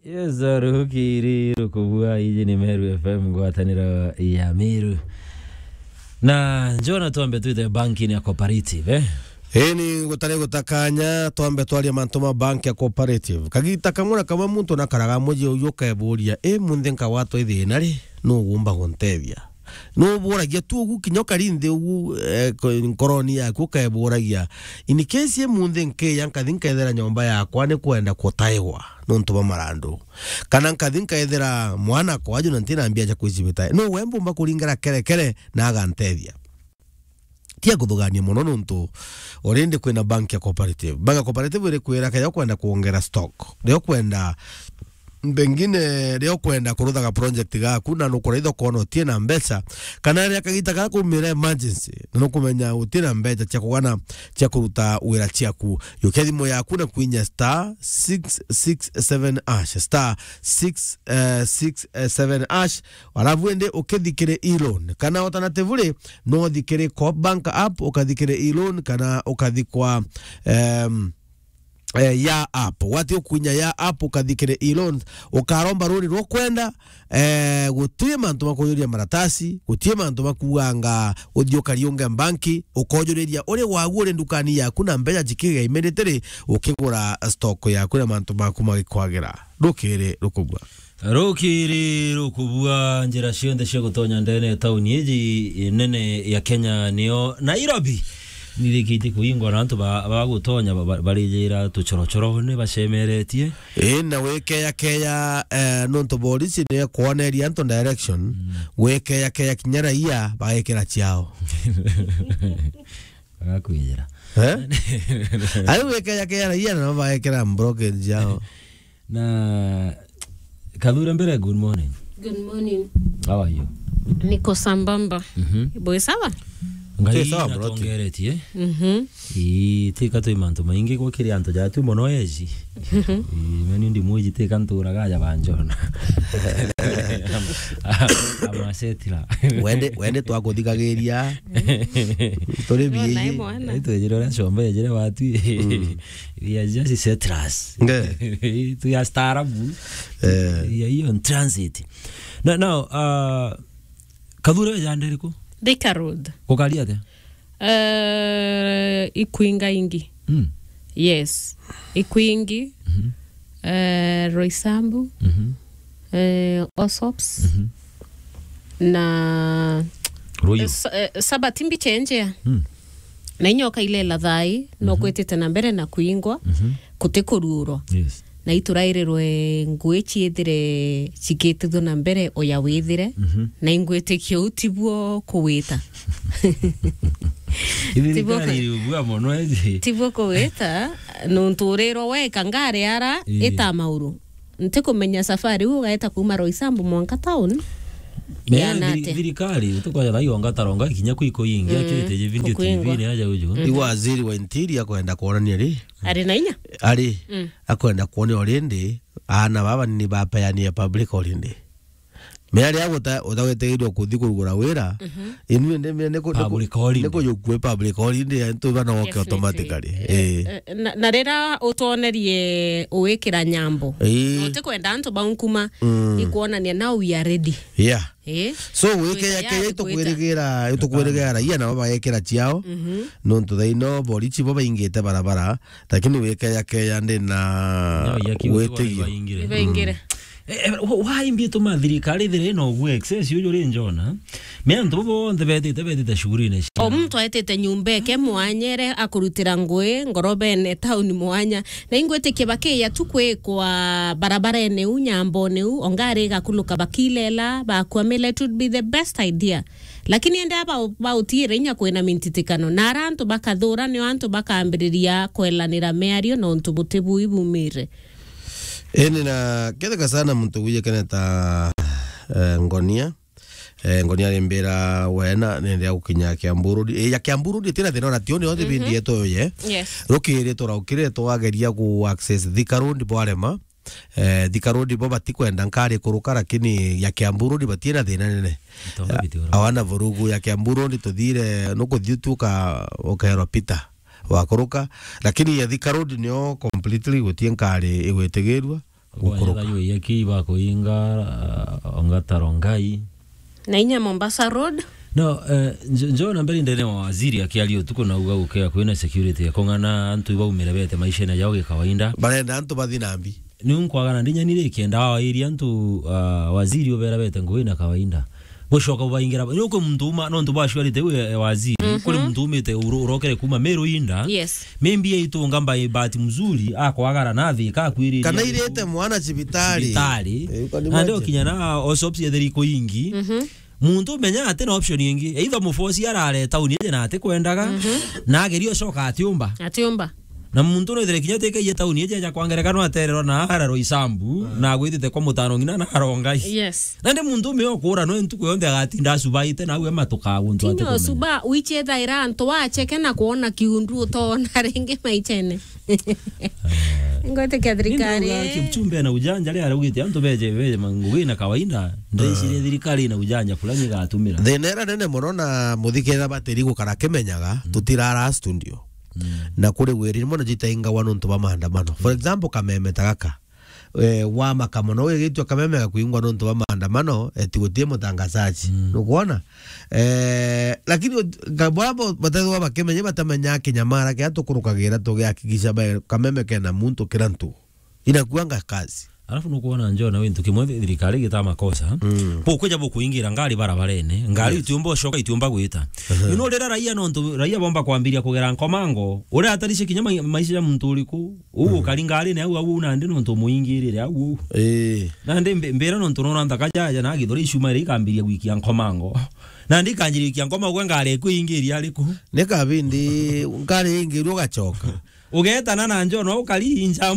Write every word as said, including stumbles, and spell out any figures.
Yes, rukiri rukubua, iji ni Meru F M, ngwataniro ya Meru. Na njona twambe twite banki ni ya cooperative, eh? Ii, ni gutari gutakanya, twambe twaria mantu ma banki ya cooperative. Kagita kamwe na kamwe muntu nakaraga muji uyu ukeburia, "I, munthi nkagwatwa ithina ri, nu ugumba guntethia?" Nuburagia tu ugu kinya ukari nthi ugu, eh, ko-, nkoroni yaku ukeburagia, "In case i munthi nkiya nkathi nkethira nyomba yakwa ni kwenda kutaigwa nontu bwa marandu? Kana nkathi nkethira mwana kwaju na ntina mbia cia kwicibita? Nu we mbumba kuringera kerekere na agantethia?" Tia kuthugania mono nontu already kwina bank ya cooperative. Bank ya cooperative iri kwira keja ukwenda kuongera stock, rio kwenda mbengine rio kwenda kuruthaga project gaku na nukuraitha ukona utie na mbeca, kana ria kagita gaku kumira emergency na nukumenya utie na mbeca cia kugana cia kuruta wira ciaku, yukia thimu yaku na kwinya star six six seven hash, star six six seven hash, alafu indi ukithikire e-loan, kana alternatively no uthikire Coop Bank app, ukathikire e-loan, kana ukathikwa, em, eh, ya app. Wati ukuinya ya app, ukathikire e-loan, ukaromba runi rwa kwenda, eh, gutie mantu ma kujuria maratasi, gutie mantu ma kuuganga uthii ukariunge banki, ukojuriria uri wagu uri ndukani yaku na mbeca cikiga immediately, ukigura stock yaku na mantu maku magikwagira. Rukiri rukubua. Rukiri rukubua, njira cionthe cia gutonya ndene ya tauni iji nene ya Kenya niyo Nairobi. Nirikite kuingwa na antu ba, ba gutonya ba, ba, barijira tuchorochorone bacemeretie. Ii, na wikeyakeya, eh, nontu borisi ni ekwoneria antu direction, mm, wikeyakeya kinya raia bagekira ciao. Agakwiyira. Eh? Ai, wikeyakeya raia nao bagekira blockade ciao. Na Kathure mbere, good morning. Good morning. How are you? Niko sambamba. Mhm. Boy, sawa? Ngai sawa, bro. Natongeretie. Mhm. Ii, tika twi mantu maingi gukiri antu ja twi mono eji. Mhm. Ii, meni ndi mwiji tika nturaga aja banjona. Amasetira. Wende, wende twakuthigagiria. Turi. Nona biiji. Imwana. Itwejire uria shombe ejire watwi. Mm. We are just settlers. Nge. Tu ya staarabu. Eh. Ya hiyo in transit. Na, now, uh, Kathure we jande riku? Thika Road. Gukari atia? Eh, Ikwinga ingi. Mm. Yes. Ikwingi. Mhm. Eh, Roysambu. Mhm. Eh, Osops. Mhm. Na Ruiru. Eh, sa-, eh, Sabati mbicha enjea. Mm. Na inya ukailela thai, no, mhm, kwitite na mbere na kuingwa, mhm, kuti kuruurwa. Yes. Na iturairirwe ngui ciithire cikitithua na mbere uya withire, mhm, na ingwitikia u tibuo kuwita. Tibuo ka-, iri ubua mono iji. Tibuo kuwita, nontu urirwa weka ngari ara, ii, ita mauru. Ntikumenya safari iu ugaeta kuuma Roysambu mwanka town. Mea yana thiri-, atia? Thirikari, tukoya thai onga taronga kinya kwi kuingi, mm, akirite je video kukuingwa. T V ni aja uju. Mm. Iwa waziri wa interior akwenda kuonania ri? Ari na inya? Ari, mm, akwenda kuonia already, aana baba ni bapeania public holiday. Mea ria guta-, utagwetigirirwa kuthi kurugura wira, mhm, inu indi mea ni ku-, ni ku-, public holiday, ni kujukue public holiday, antu bana woke. Definitely. Automatically. Eh, eh, eh, na, na rira utwonerie uwikira nyambo. Ii. Na utikwenda antu baunkuma, mm, ikuonania now we are ready. Yeah. Eh? So, wikeya keya itukwirigira, itukwirigira raia nabo bagekira ciao. Mhm. Nontu thaino borichi bo baingite barabara, lakini wikeya keya ndi na. No, ya kiu witiyo. Ni baingire. Ni baingire. Mm. Eh, eh, wa-, waimbie tuma thirikari ithire ina ugu excess uju ri njona. Me antu bo bonthe betite, betite shughulini cia. O muntu aetite nyumba eke mwanyere akurutira ngui ngorobene town mwanya. Na ingwitikia bakiya tu kwikwa barabarene u, nyambone u, o ngari igakuluka bakilela, bakwamila, it would be the best idea. Lakini ende aba ba-, bautiire inya kwina mintitikano. Na ara antu bakathura nio antu bakambiriria kwelanira miario nontu buti bui bumire. Indi na ketheka sana muntu wiye keneta, eh, ngonia. Eh, ngonia rimbira wena nende ya gukinya Kiambu Road. Eh, ya Kiambu Road itina thina ona tioni yonthe. Mhm. Bindi yeto ye. Yes. Rukiri turaukire twageria ku access Thika Road bwarema. Eh, Thika Road bo batikwenda nkari kuruka, lakini ya Kiambu Road batina thina nene. Itonga. Ah, biti ura. Awana vurugu ya Kiambu Road tuthire nukuthi utuka ukerwa Peter wakuruka, lakini ya Thika Road nio completely gutie nkari igwitigirua. Gukuruka. Kwanyatha yui ya kii bakuinga, ah, Ongata Rongai. Na inya Mombasa Road. No, eh, njo, njo na mbere ndene wa waziri akiaria utuku na uga gukea kwina security ya kung'ana antu ibaumire bete maisha na yao gikawaida. Barenda antu bathi na mbi. Ni unkwagana ndinya nire kenda wa area antu, ah, waziri ubera bete ngui na kawaida. Gucoka ubaingira, ni uko muntu uma, no ntu bashwarite we, eh, waziri. Mhm. Kuri muntu umite uro-, urokere kuma Meru inda. Yes. Maybe aitunga mbai bahati mzuri, akwagara na thi, kakwirire. Kana irite mwana cibitari. Cibitari. Eh, you can imagine. Na ndio kinya na osops ya theri kuingi. Mhm. Muntu umenya ati na option ingi. Either mufosi arare tauni ije na ati kwendaga, mhm, na ageri ocoka atiumba. Atiumba. Na muntu no ithire kinya teke ye tauni ije ja kwangereka no atererwa na araro isambu, mm, na agwitite kwa mutano ngina na arongai. Yes. Na ndi muntu ume okura no ntuku yonthe agatinda acubaite na awe matuka guntu ati. Tinyo kumenya. Cuba, wiche thaira antu wacheke na kuona kiundu utona ringi maichene. Ngwitikia thirikari. Ninauga Kipchumbe na ujanja ria araugite antu beje, beje mangugi na kawaida. Ndecirie thirikari na ujanja fulani igatumira. Thina ira nene muno na muthikira batiri gukara kimenyaga, mm, tutirara studio. Mm. Na kuri wiri, rimwe na jitaingagwa nontu bwa maandamano. For example, kameme ta gaka. Eh, wamaka mono, wigitwe kameme gakuingwa nontu bwa maandamano, eti gutie mutangazaji. Mm. Nukwona? Eh, lakini ot-, ka-, bora bo-, batethwa bakimenya, batamenya kinyamara kia tukurukagira, tugihakikisha ba-, kameme kena muntu kira ntu. Inakuanga kazi. Alafu nukwona njo na wintu kimwe thi-, thirikari gita makosa. Mm. Bukwija bukuingira ngari barabarene, ngari, yes, itiumba ucoka, itiumba gwita. Uh-huh. You know, rira raia nontu, raia bomba kwambiria kugera nkomango, uria ataricie kinya mai-, maisha ya muntu uriku, uu, mm, ukari ngarine au, au, nandi nontu muingirire au, au. Ii. Nandi mbi-, mbira nontu nona nthaka jaja na githuri icuma iria ikambiria gwikia nkomango. Nandi ikanjiria gwikia nkomango, ngari iku ingiria ariku? Ni kabindi ngari ingirua ugacoka. Ugetana na njo no ukari inja